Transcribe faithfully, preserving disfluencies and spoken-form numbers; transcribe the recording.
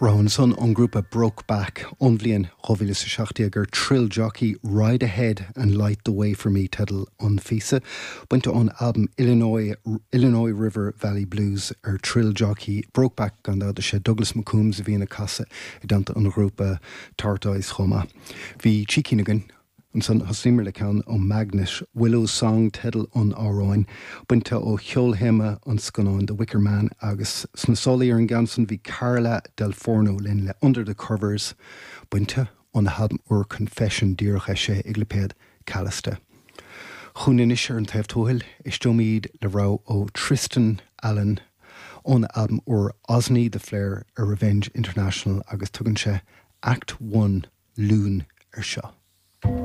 Ansan ón grúpa Brokeback ón bhliain dhá mhíle is a seacht déag ar Thrill Jockey Ride Ahead and Light the Way for Me teideal an phíosa, bainte ón albam Illinois, Illinois River Valley Blues ar Thrill Jockey Brokeback gan dabht sé Douglas McCombs a bhíonn ag casadh i dteannta an ghrúpa Tortoise chomh maith. Bhí trí cinn againn Ansan thosaíomar le ceann ó Magnet, Willow Song teideal an amhráin, bainte ó cheolthéama an scannáin The Wicker Man agus sna sálaí ar an gceann san bhí Carla Del Forno linn le Under the Covers, bainte óna halbam úr Confession díreach eisithe ag lipéad Callista. Chugainn anois ar an taobh tuathail éisteoimid le rogha ó Tristan Allen óna albam úr Osney the Flare ar Revenge International agus tugann sé Act One Loon ar seo.